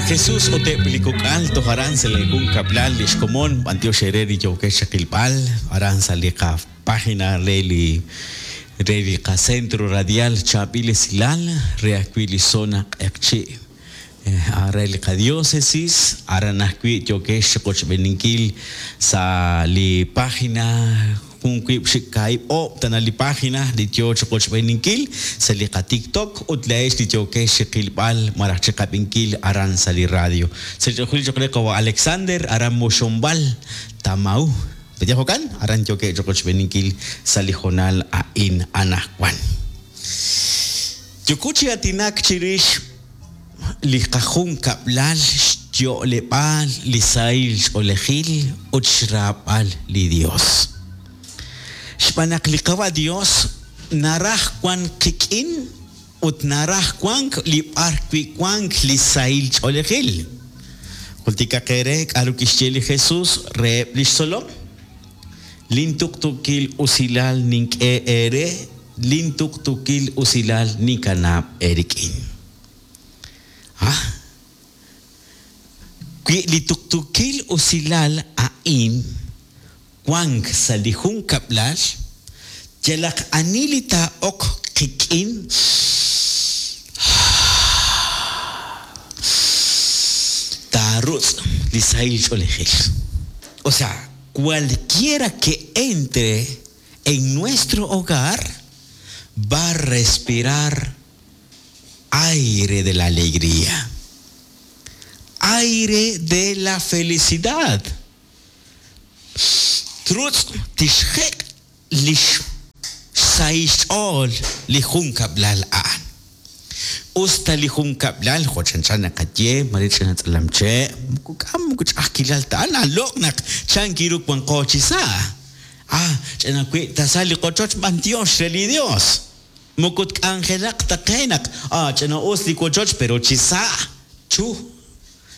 Li Jesus ut eb' li kok'al toj aran sa' li junkab'lal li xkomon b'antiox eere li yookex chiqilb'al aran sa' li qapágina re li re li qacentro radial Chaab'il Esilal re ajwi' li zona Q'eqchi' re li qadiócesis aran ajwi' yookex chiqochb'eeninkil sa' li página Jun wiib' xik kaahib' oob' tana li página li yoo chiqochb'eeninkil sa' li qaTikTok ut laa'ex li yookex chiqilb'al malaj chiqab'inkil aran sa' li radio. Sa' li choq' re qawa' Alexander aran Moxonb'al, Tamau. Pe'yaal jo'kan? Aran yookeb' chiqochb'eeninkil sa' li hoonal a'in anaqwan. Yooko chi aatinak chirix li qajunkab'lal xyo'leb'aal li sahil ch'oolejil ut xraab'al li Dios. Xb'aan naq li Qawa' Dios naraj wank qik'in ut naraj wank li b'ar wi' wank li sahil ch'oolejil. Jultikaq eere k'a'ru kixye li Jesus reheb' lix tzolom, Lin tuqtuukil usilal nink'e eere, lin tuqtuukil usilal ninkanab' eerik'in. Ah! Wi li tuqtuukil usilal a'in wank sa' li junkab'lal, yalaq ani li taa'ok qik'in taarutz' li sahil ch'oolejil. O sea, cualquiera que entre en nuestro hogar va a respirar aire de la alegría, aire de la felicidad. Trutz' tixjek' li xsahil xch'ool li junkab'lal a'an. Us ta li junkab'lal jo' chanchan naqaye, mare ch'ina tz'alamche', moko k'am moko ch'a'ajkilal ta a'an, aloq' naq chan kiru wanqo chi sa'. Ah, ch'ina wi' tasal li qochoch b'antiox re li Dios. Moko tk'anjelaq ta qe naq, ah, ch'ina us li wochoch pero chi sa', chu.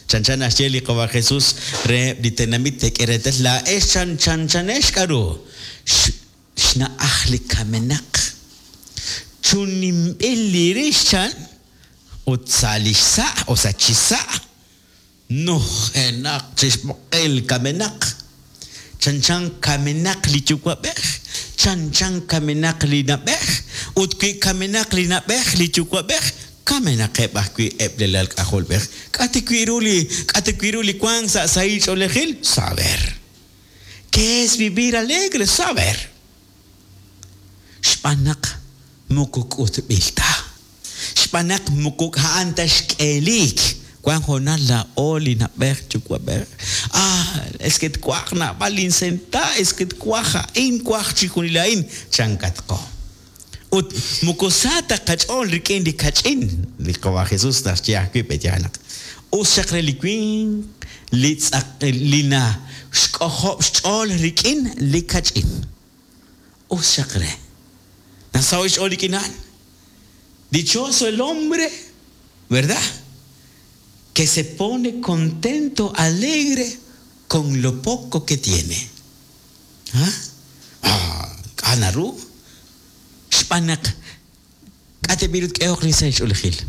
Chanchan naxye li Qawa' Jesus reheb' li tenamit teek'e reetal laa'ex chan chanchanex k'a'ru xna'aj li kamenaq. Chunninb'il li rix chan ut sa' li xsa' o sa' chi sa' nujenaq chi xb'oqel kamenaq. Chanchan kamenaq li yuwa'b'ej, chanchan kamenaq li na'b'ej, ut wi kamenaq li na'b'ej li yuwa'b'ej, kamenaqeb' ajwi' eb' li alal k'ajolb'ej. K'a' ta wi' ru li k'a' ta wi' ru li wank sa' sahil ch'oolejil? Saber. Qué es vivir alegre? Saber. Xb'aan naq moko k'utb'il ta. Xb'aan naq moko a'an ta xk'eeliik. Wank hoonal laa'o li na'b'ej yuwa'b'ej, Ah, es que twaj naab'al linsenta, es que twaj a'in, twaj chixjunil a'in, chankatqo. Ut moko sa ta qach'ool rik'in li kach'in. Li Qawa' Jesus naxye ajwi' pe'yaal naq us xaq re li winq li tz'aq li naxk'ojob' xch'ool rik'in li kach'in. Us xaq re. Nasaho' xch'ool rik'in a'an. Dichoso el hombre, ¿verdad? Que se pone contento, alegre con lo poco que tiene. Ah, k'a' naru? Xb'aan naq k'a' tab'i' ru tk'ehoq li sahil ch'oolejil?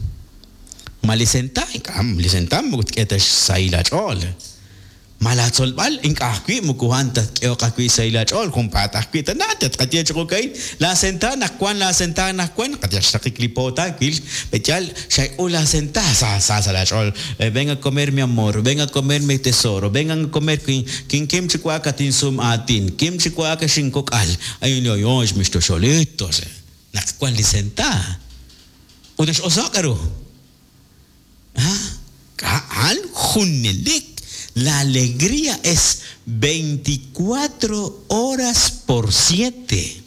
Ma li senta? Ink'a', li senta moko tk'e ta xsahil aach'ool. Ma laatzolb'al? Ink'a' ajwi', moko a'an ta tk'ehoq ajwi' xsahil aach'ool, junpaat ajwi' tana tatqaye chi jo'ka'in, Laasenta naq wank laasenta anaqwan, qayal xraqik li po taawil, pe'yaal xak'ul laasenta, sa sa sa' laach'ool, Ven a comer mi amor, ven a comer mi tesoro, vengan a comer, kim chi wa'ak at insum aatin, kim chi wa'ak ex inkok'al, ay ay ay mis toxolitos, naq wank li senta ut nax'oso'k k'aru. A'an junelik, la alegría es veinticuatro horas por siete,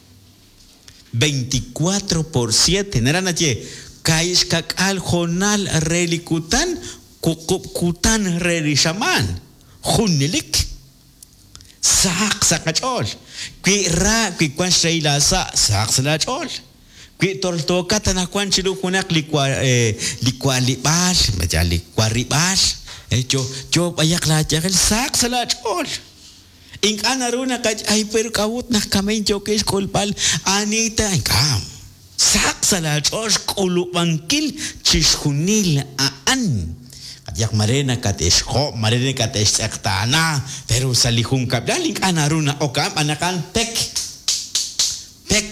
veinticuatro por siete, naraj naxye kaahib' xka'k'aal hoonal re li kutan, wuqub' kutan re li xamaan, junelik. Sahaq sa' qach'ool. Wi ra, wi wank xrahil aasa', sahaq sa' laach'ool. Wi toltookat anaqwan chiru junaq li li wa'lib'aal, malaj li warib'aal, yo yo b'ayaq laayajel, sahaq sa' laach'ool. Ink'a' naru naqaye, ay pero k'a'ut naq kama'in yookin xk'ulb'al ani ta, ink'a'. Sahaq sa' laach'ool xk'ulub'ankil chixjunil a'an. Qayehaq mare nakate'xhob', mare nakate'xtz'eqtaana, pero sa' li junkab'lal ink'a' naru na'ok a'an b'an naq a'an pek, pek.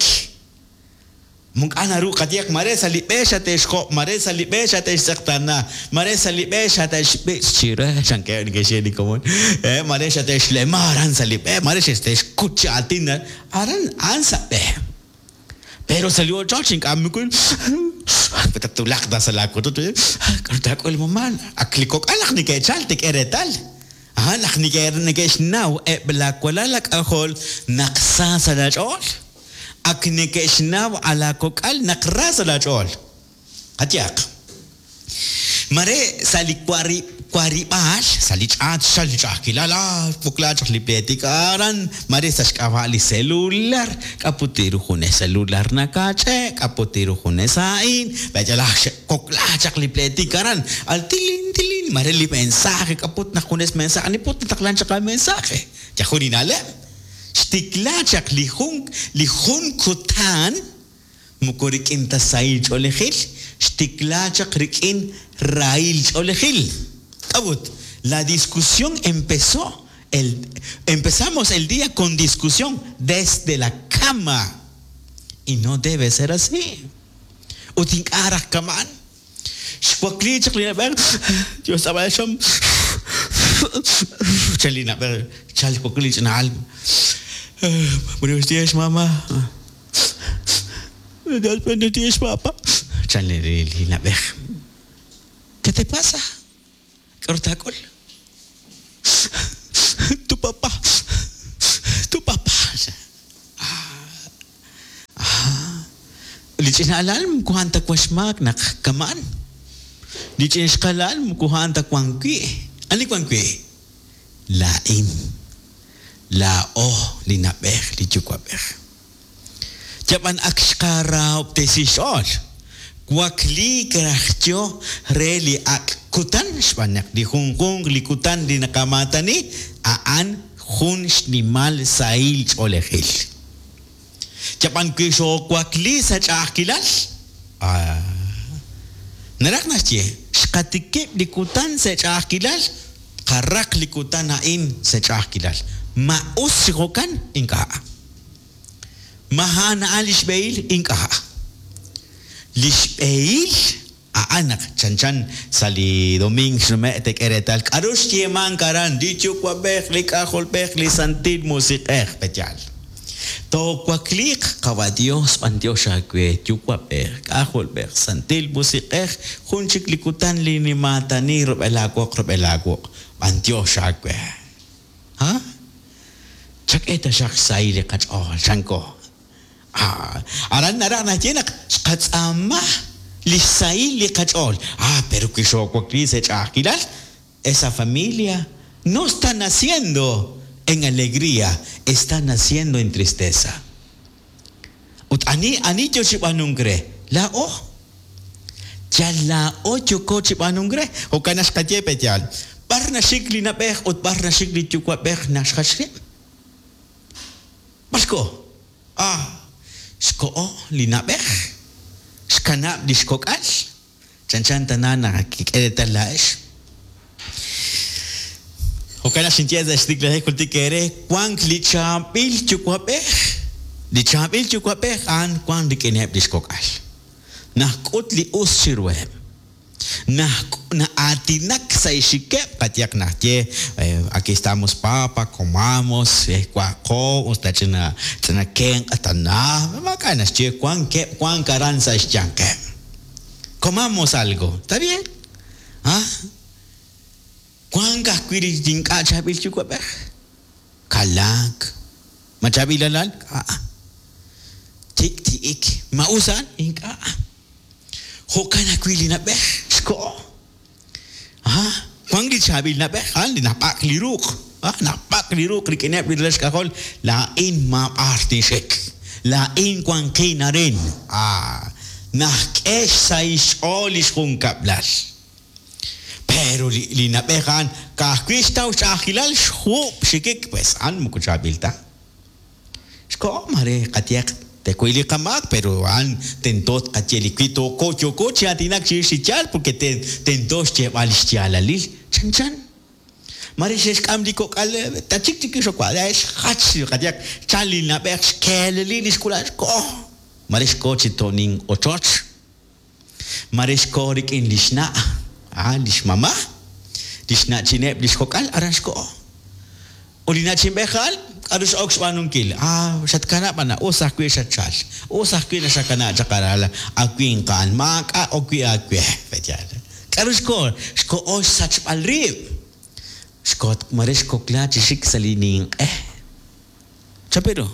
Ink'a' naru qayehaq mare sa' li b'e xate'xhob', mare sa' li b'e xate'xtz'eqtaana, mare sa' li b'e xate'xb'ich' chire, chankeb' neke'xye li komon, mare xate'xlema aran sa' li b'e, mare xate'xkut chi aatin aran, a'an sa' b'e. Pero sa' li ochoch ink'a' moko tatwulaq ta sa' laa wochoch, k'aru taak'ul mamá, ak li kok'al naq neke'chal te'k'e reetal, a'an naq neke'xnaw eb' laa walal aak'ajol naq sa sa' laach'ool. Ak neke'xnaw a laakok'al naq ra sa' laach'ool. Qayehaq, mare sa' li warib'aal, sa' li ch'aat xchalk li ch'a'ajkilal, ah, xwukla chaq li pleetik aran, mare sa' xk'ab'a' li selular, k'a' put ru junes selular nakaach'e', k'a' put ru junes a'in, b'e'yalaj xe'wukla chaq li pleetik aran, al tilin tilin, mare li mensaje, k'a' put naq junes mensaje, ani put nataqlank chaq aamensaje, yal jun li na'leb'. Xtikla chaq li jun li jun kutan moko rik'in ta sahil ch'oolejil, xtikla chaq rik'in rahil ch'oolejil. K'a'ut? La discusión empezó el empezamos el día con discusión desde la cama y no debe ser así. Ut ink'a' raj kama'an. Xwakliik chaq li na'b'ej, Dios tz'ab'al xam, chan li na'b'ej, xchalk xwakliik li ch'ina al. Buenos días, mamá. Buenos días, papá. Chan li na'b'ej. ¿Qué te pasa? K'aru taak'ul? Tu papá, tu papá. Li ch'ina alal moko a'an ta wan xmaak naq kama'an. Li ch'ina ixqa'alal moko a'an ta wan wi'. Ani wan wi'? Laa'in. Laa'o li na'b'ej li yuwa'b'ej. Yab'an ak xqarahob'tesi xch'ool. Wakliik raj yo re li ak' kutan xb'aan naq li junjunq li kutan li naqamaatani a'an jun xnimal sahil ch'oolejil. Yab'an wi xoowakli sa' ch'a'ajkilal, naraj naxye, xqatikib' li kutan sa' ch'a'ajkilal, tqaraq li kutan a'in sa' ch'a'ajkilal. Ma us chi jo'kan? Ink'a'. Ma a'an a'an li xb'ehil? Ink'a'. Li xb'ehil a'an naq chanchan sa' li domiing xnume' teek'e reetal k'a'ru xyeemank aran, li Yuwa'b'ej, li K'ajolb'ej, li Santil Musiq'ej, pe'yaal? Toowakliiq, Qawa' Dios, b'antiox aawe, Yuwa'b'ej, K'ajolb'ej, Santil Musiq'ej, jun chik li kutan li nimaatani rub'el aawoq rub'el aawuq', b'antiox aawe. Ha? Chak'e taxaq xsahil li qach'ool, chanko. Ah, aran naraj naxye naq xqatz'aama li xsahil li qach'ool. Ah, pero wi xoowakli sa' ch'a'ajkilal, esa familia no está naciendo en alegría, está naciendo en tristeza. Ut ani ani yo chi b'aanunk re? Laa'o. Yal laa'o yooko chi b'aanunk re. Jo'kan naq xqaye pe' yaal. B'ar naxik li na'b'ej ut b'ar naxik li yuwa'b'ej naxjach rib'? B'ar xkoho? Ah, xkoho li na'b'ej. Xkanab' li xkok'al. Chanchan tana naq kik'e reetal laa'ex. Jo'kan naq xinye sa' xtiklajik jultik eere, wank li chaab'il yuwa'b'ej. Li chaab'il yuwa'b'ej a'an wank rik'ineb' li xkok'al. Naxk'ut li us chiruheb'. Na'aatinak sa' xxikeb', qayehaq naxye, Aquí estamos papa, comamos, wa'qo, us ta ch'ina ch'ina kenq' tana, maak'a' naxye, wankeb' wank aran sa' xyanqeb'. Comamos algo, está bien? Ah, wank ajwi' li ink'a' chaab'il yuwa'b'ej. Kalaak. Ma chaab'il alal? Ink'a'. Tik'ti'ik. Ma us a'an? Ink'a'. Jo'kan ajwi' li na'b'ej xkoho. Ah, wank li chaab'il na'b'ej, a'an li nab'ak li ruq'. Ah, nab'ak li ruq' rik'ineb' li ralal xk'ajol. Laa'in maab'ar tinxik. Laa'in wanqin arin. Ah, naxk'e xsahil xch'ool li xjunkab'lal. Pero li, li na'b'ej a'an ka'ajwi' xtaw xch'a'ajkilal xjuub' xikik, pues a'an moko chaab'il ta. Xkoho mare qayehaq. Tekuy li qamaak, pero a'an tento tqaye li wi tooko yooko chi aatinak chirix li yaal porque tento xyeeb'al li xyaalalil. Chanchan. Mare xe'xk'am li kok'al tachik chik xokwa xjach qayehaq chal li na'b'ej xkeeleli li xk'ula'al xkoho. Mare xkoho chi to'nin ochoch. Mare xkoho rik'in li xna', a li xmama, li xna'chineb' li xkok'al aran xkoho. Ut li na'chinb'ej a'an k'aru x'ok xb'aanunkil? Ah, xatkanab' ana, us ajwi' xatchal. Us ajwi' naxakana' chaq aral awinq a'an, maak'a' ok wi' aawe. Pe'yaal? K'aru xkoho? Xkoho xsachb'al rib'. Xkoho mare xkokla chi xik sa' li ninq'e. Chaperu?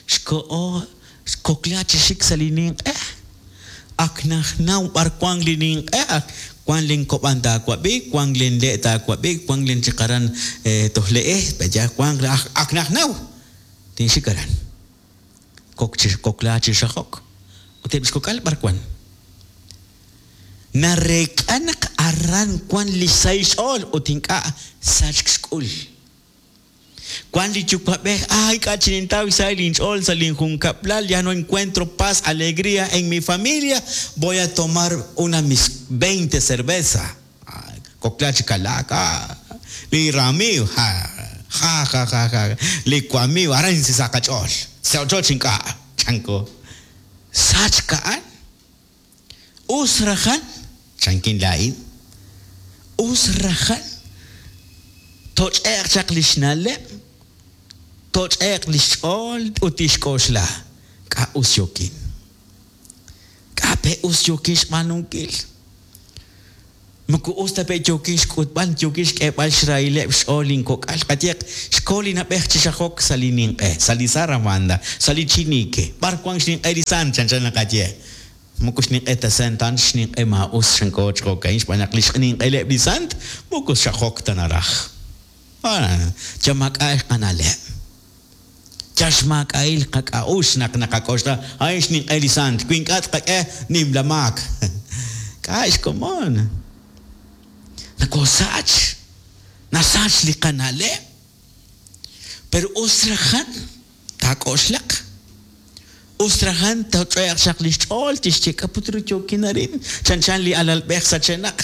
Xkoho xkokla chi xik sa' li ninq'e. Ak naxnaw b'ar wank li ninq'e, ak wank len kob'an taawab'i, wank len le' taawab'i, wank len chik aran toj le'e, pe'yaal wank ak naxnaw. Tinxik aran. Kok chi kokla chi xajok. Ut eb' li xkok'al b'ar wank. Nareek'a naq aran wank li xsahil xch'ool ut ink'a' sachk xk'ul. Wank li yuwa'b'ej, ay, ink'a' chi nintaw xsahil inch'ool sa' linjunkab'lal, ya no encuentro paz, alegría en mi familia, voy a tomar una mis 20 cerveza. Kokla chi kalaak, ah, li ramiiw, ja, ja, ja, ja, ja, li wamiiw, aran sa' qach'ool, sa' ochoch ink'a', chanko. Sachk a'an. Us rajan, chankin laa'in, us rajan toch'e'q chaq li xna'leb', toch'e'q li xch'ool ut tixk'oxla, k'a' us yookin? K'a' pe' us yookin xb'aanunkil? Moko us ta pe' yookin xk'utb'al, yookin xk'eeb'al xrahileb' xch'ool linkok'al. Qayehaq, xko li na'b'ej chi xajok sa' li ninq'e, sa' li zarabanda, sa' li chinique. B'ar wank xninq'e li sant, chanchan naqaye. Moko xninq'e ta sant, a'an xninq'e maa'us, chanko chi jo'ka'in, xb'aan naq li xninq'eleb' li sant moko xajok ta naraj. Yal maak'a' qana'leb'. Yal xmaak'a'il qak'a'uxl naq naqak'oxla, a'in xninq'e li sant, wi ink'a' tqak'e nimla maak. K'a' xkomon. Nokoosach. Nasach li qana'leb'. Pero us rajan taak'oxlaq. Us rajan toch'e'q chaq li xch'ool tixye k'a' put ru yookin arin, chanchan li alalb'ej sachenaq.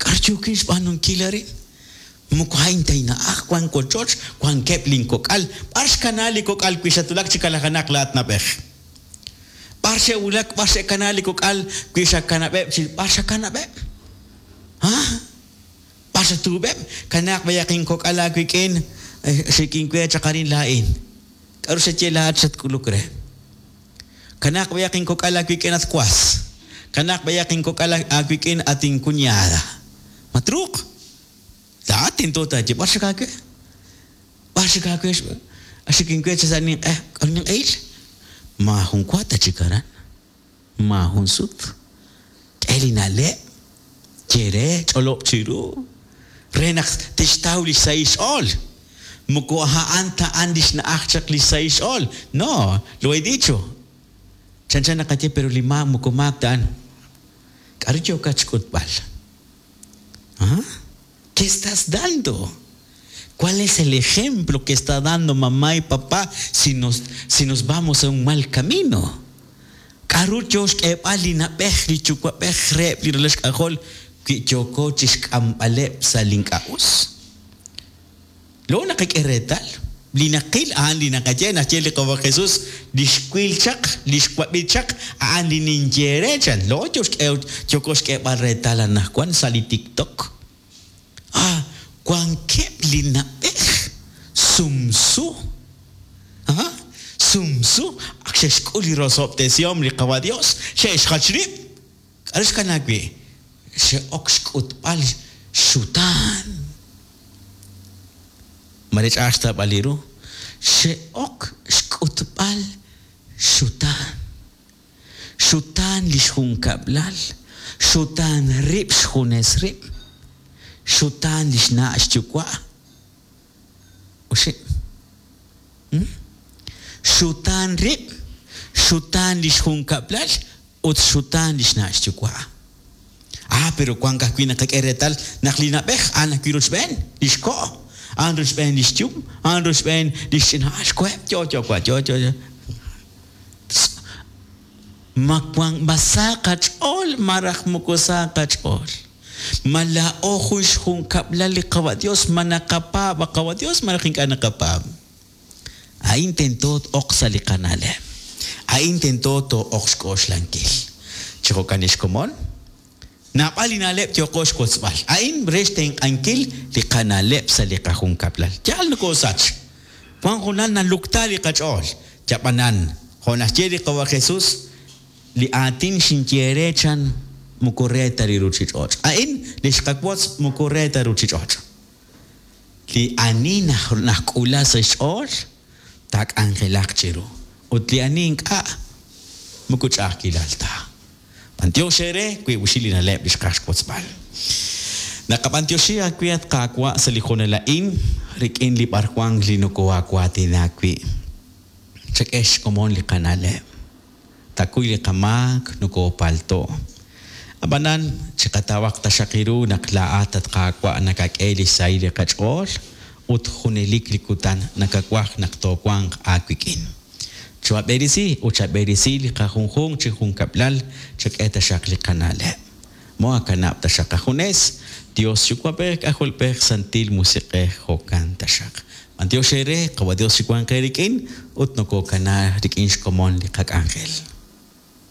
K'aru yookin xb'aanunkil arin? Moko a'in ta inna'aj, wank wochoch, wankeb' linkok'al. B'ar xkanaak li kok'al wi xatwulak chi kalajenaq laa'at na'b'ej? B'ar xe'wulak, b'ar xe'kanaak li kok'al wi xakanab'eb' chi b'ar xakanab'eb'? Ha? B'ar xatuub'eb'? Kanaaq b'ayaq inkok'al aawik'in, xik'in we chaq arin laa'in. K'aru xaye laa'at xatk'uluk re? Kanaaq b'ayaq inkok'al aawik'in at was. Kanaaq b'ayaq inkok'al aawik'in at incuñada. Ma truuq? Laa'at tento taaye, b'ar xik aawe? B'ar xik aawe? Xik inwe chi sa' ninq'e. K'aru ninq'ehil? Maajun wa ta chik aran. Maajun sut. K'e li na'leb'. Ye re, ch'olob' chiru. Re naq tixtaw li xsahil xch'ool. Moko a'an ta a'an li xna'aj chaq li xsahil xch'ool. No, lo he dicho. Chanchan naqaye pero li maak moko maak ta a'an. K'aru yookat xk'utb'al? Ah? ¿Qué estás dando? ¿Cuál es el ejemplo que está dando mamá y papá si nos, si nos vamos a un mal camino? K'aru yo xk'eeb'al li na'b'ej li yuwa'b'ej reheb' li ralal xk'ajol wi yooko chi xk'amb'aleb' sa' li ink'a' us? Lo naqak'e reetal, li naqil a'an li naqaye, naxye li Qawa' Jesús, li xwil chaq, li xwab'i chaq, a'an li ninye re chan. Lo yo xk'e yooko xk'eeb'al reetal anaqwan sa' li TikTok. Ah, wankeb' li na'b'ej sumsu. Ah, sumsu, ak xe'xk'ul li rosob'tesihom li Qawa' Dios, xe'xjach rib'. K'aru xkanaak wi'? Xe'ok xk'utb'al xutaan. Mare ch'a'aj xtawb'al li ru. Xe'ok xk'utb'al xutaan. Xutaan li xjunkab'lal, xutaan rib' xjunes rib', xutaan li xna' xyuwa'. Oxib'. Xutaan rib', xutaan li xjunkab'lal ut xutaan li xna' xyuwa'. Ah, pero wank ajwi' naqak'e reetal naq li na'b'ej a'an ajwi' rochb'een li xko', a'an rochb'een li xyum, a'an rochb'een li xch'ina'al xkoheb' yo yo wa yo yo yo. Ma wan ma sa qach'ool malaj moko sa qach'ool? Ma laa'o jun xjunkab'lal li Qawa' Dios, ma naqapaab' a Qawa' Dios malaj ink'a' naqapaab'? A'in tento t-oq sa' li qana'leb'. A'in tento too'oq xk'oxlankil. Chi jo'kan ex komon, naab'al li na'leb' yooqo xwotzb'al. A'in re xtenq'ankil li qana'leb' sa' li qajunkab'lal. Yaal nokoosach. Wan hoonal nalukta li qach'ool. Yab'anan, jo' naxye li Qawa' Jesus, li aatin xinye eere chan moko re ta li ruchich'och'. A'in li xqawotz moko re ta ruchich'och'. Li ani najk'ula sa' xch'ool taak'anjelaq chiru. Ut li ani ink'a' moko ch'a'ajkilal ta. B'antiox eere wiib' oxib' li na'leb' li xqaj xwotzb'al. Naqab'antioxi aawe at Qaawa' sa' li hoonal a'in rik'in li b'arwan li nokohaawaatina wi'. Chak'e xkomon li qana'leb'. Takuy li qamaak nokoopalto'. Ab'anan, chiqatawaq taxaq ru naq laa'at at Qaawa' nakak'e li xsahil li qach'ool ut junelik li kutan nakawaj naq toowanq aawik'in. Choohab'eresi ut chab'eresi li qajunjunq chi junkab'lal, chak'e taxaq li qana'leb'. Moohakanab' taxaq qajunes, Dios Yuwa'b'ej K'ajolb'ej Santil Musiq'ej jo'kan taxaq. B'antiox eere, Qawa' Dios chiwanq eerik'in ut nokokana rik'in xkomon li qak'anjel.